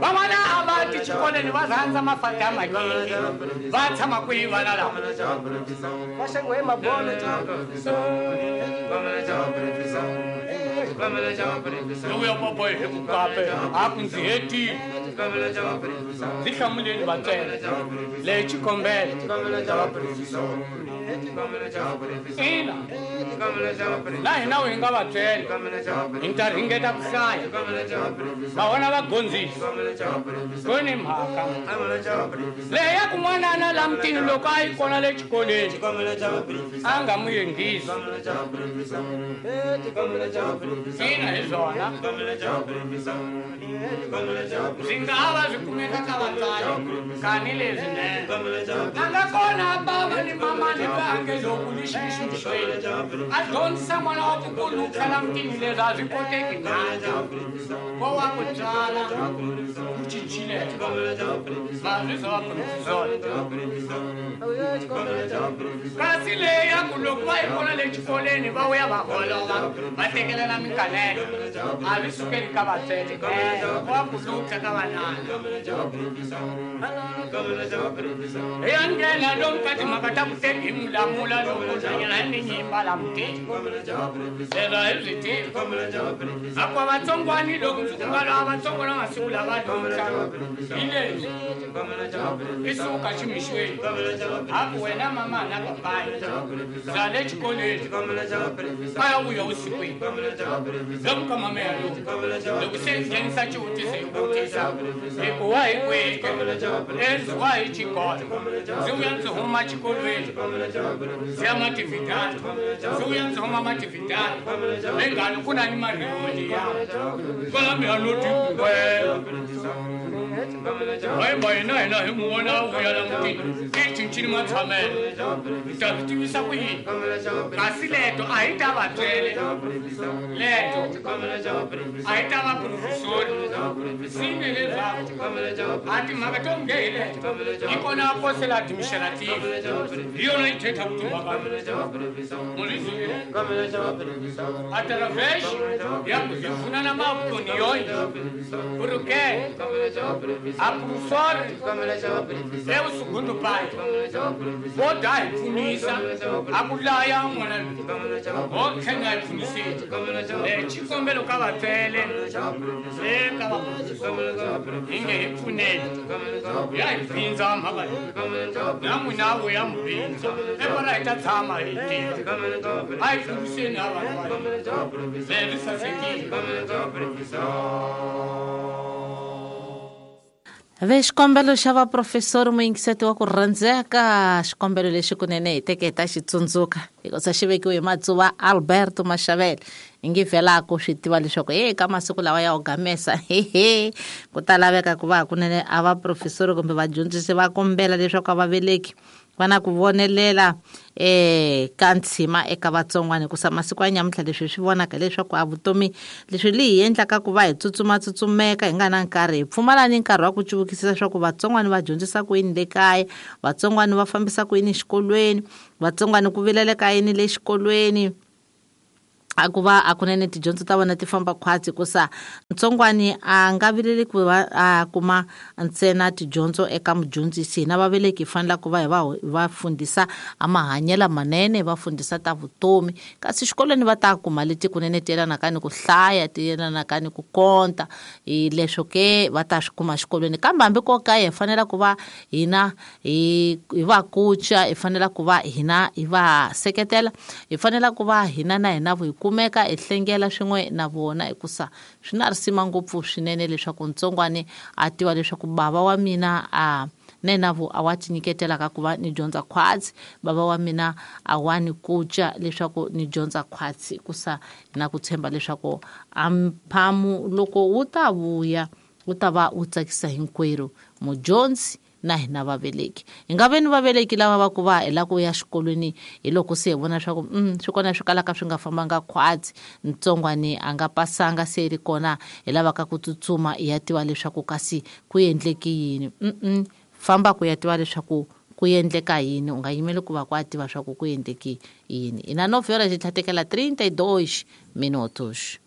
Van'wana a va ti xikolweni va rhandza mafata ya makeke va tshama kwihi vana lava va xengiwe hi mabolo. Lowu ya papa hi ku kape a ku ndzi hetile ndzi hlamuleni vatswele leyi xikombelo ina na hina hi nga vatswele hi ta ringeta ku hlaya va vona va gondzisa ku ni mhaka leyi ya ku n'wanana la mutini loko a yi kona le xikolweni a nga mu yingisi ina hi swona swi nga va swi kumeka ka vatswari kani leswinene a nga kona bava ni mamani vange loko ni xixixweni a dyondzisa n'wana wa ku ku la mutini leswi a swi koteki nandza ko wa ku tswala ku cincile mazwi swa vaprofesori kasi leyi ya ku loko va yi vona le xikolweni va vuya va holova va tekelela minkanelo a swi sukeli ka vatswele wa ku lutla ka vanana hi ya nghena lomu ka timhaka ta ku teki hi mulamula loko hlanyela hi ni nyimba la mutini leswo a hi swi tivi akwa vatsongwani loko ndzi ku nga lava vatsongwana masiku lava lutla hi leswi i suka ximixweni a ku wena mama na papayi za le xikolweni a ya vuya vusikwini lomu ka mama ya lomu loko se nghenisa xivutiso hi vutisa hi ku wa hi kwihi enzi wa hi xikolo ndzi vuya ndzi huma xikolweni ndzi ya matividani ndzi vuya ndzi huma matividani lengani ku na ni mariholi ya kwala mi ya no tikungwela hayi hina hina hi n'wi vona a vuya la mutini i cincini matshamelo mi ta swi tivisa ku yini kasi leto a hi ta vatswele leto a hi ta vaprofesori sine leswaku a timhaka to nge hi leto hi kona a posela administrative hi yona yi thetha ku timhaka mulizwile através ya ku hi pfunana maopiniões porque a professora é o segundo pai vo da hi pfunisa a ku laya n'wana loyi ho tlhela hi pfunisile xikombelo ka vatswele le ka vaprofesori hi nge hi pfuneni ya hi pfindza mhaka leyi na n'wina wu ya mi pfindza evara hi ta tshama hi tiva a hi pfuniseni a vanhu va leri sasekile. Ve xikombelo xa vaprofesori muyingiseti wa ku rhandzeka xikombelo lexi kunene hi teke hi ta xi tsundzuka hikusa xi vekiwe hi Matsuva Alberto Mashavele hi nge vhelaku swi tiva leswaku e ka masiku lawa ya ogamesa hehe ku ta laveka ku va hakunene a vaprofesori kumbe vadyondzisi va kombela leswaku a vaveleki va na ku vonelela ka ntshima eka vatsongwana hikusa masiku ya nyamuntlha leswi hi swi vonaka leswaku a vutomi leswi li hi endlaka ku va hi tsutsumatsutsumeka hi nga na nkarhi hi pfumala ni nkarhi wa ku cuvukisisa leswaku vatsongwana va dyondzisa ku yini le kaya vatsongwana va fambisa ku yini xikolweni vatsongwana ku vileleka yini le xikolweni a ku va a kunene tidyondzo ta vona ti famba khwatsi hikusa ntsongwani a nga vileli ku va a kuma ntsena tidyondzo eka mudyondzisi hina vaveleki hi fanela ku va hi va va fundisa a mahanyelo manene va fundisa ta vutomi kasi xikolweni va ta kuma leti kunene ti yelanaka ni ku hlaya ti yelanaka ni ku konta hi leswo ke va ta swi kuma xikolweni kambe hambi ko kaya hi fanela ku va hina hi va kuca hi fanela ku va hina hi va seketela hi fanela ku va hina na hina hi kumeka hi hlengela swin'we na vona hikusa swi na risima ngopfu swinene leswaku ntsongwani a tiva leswaku bava wa mina a na yena vo a wa ti nyiketela ka ku va ni dyondza khwatsi bava wa mina a wa ni kuca leswaku ni dyondza khwatsi hikusa na ku tshemba leswaku a mphamu loko wu ta vuya wu ta va wu tsakisa hinkwerhu mudyondzi na hina vaveleki hi nga ve ni vaveleki lava va ku va hi lava ku ya xikolweni hi loko se hi vona leswaku swi kona swi kalaka swi nga fambanga khwatsi ntsongwani a nga pasanga se ri kona hi lavaka ku tsutsuma hi ya tiva leswaku kasi ku endleki yini famba ku ya tiva leswaku ku endleka yini u nga yimeli ku va ku a tiva swa ku ku endleki yini ina 9 horas tlhatekela 32 minutos.